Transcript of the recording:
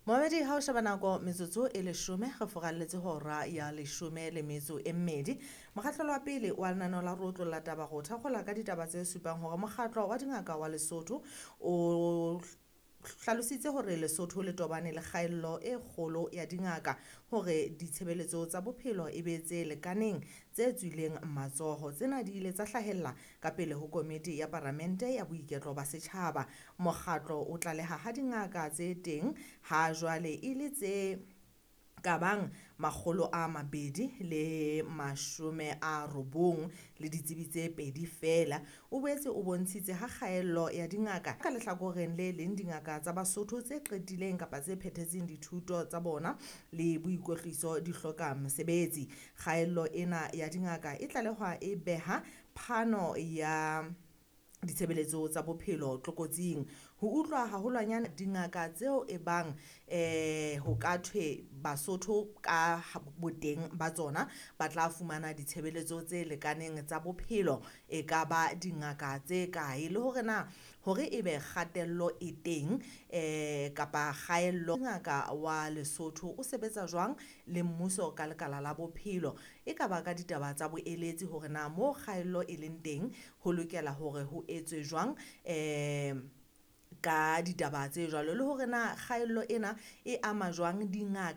Momamedi, ha o sheba nako, metsotso e 10 re furalletse hora ya 12. Mokgahlelo wa pele wa lenaneo la Rotlo la taba go thakgola ka ditaba tse supang hore mokgatlo wa dingaka wa Lesotho o hlalositse hore Lesotho le tobane le kgaello e kgolo ya dingaka hore ditshebeletso tsa bophelo e be tse lekaneng tse tswileng matsoho. Tsena di ile tsa hlahella ka pele ho komiti ya paramente ya boiketlo ba setjhaba. Mokgatlo o tlaleha ha dingaka tse teng ha jwale e le tse ka bang 290 le ditsebi tse 2 feela. O boetse o bontshitse ha kgaello ya dingaka ka lehlakoreng le leng dingaka tsa Basotho tse qetileng kapa tse phethetseng dithuto tsa bona le boikwetliso di hloka mesebetsi. Kgaello ena ya dingaka e tlalehwa e beha phano ya ditshebeletso tsa bophelo tlokotsing. Ho utlwa haholwanyane dingaka tseo e bang ho ka thwe Basotho ka boteng ba tsona ba tla fumana ditshebeletso tse lekaneng tsa bophelo, e ka ba dingaka tse kae, le hore na hore ebe kgatello e teng kapa kgaello. Ngaka wa Lesotho o sebetsa jwang le mmuso ka lekala la bophelo, e ka ba ka ditaba tsa boeletsi hore na mo kgaello e leng teng ho lokela hore ho etswe jwang ka ditaba tse jwalo, le hore na kgaello ena e ama jwang dingaka.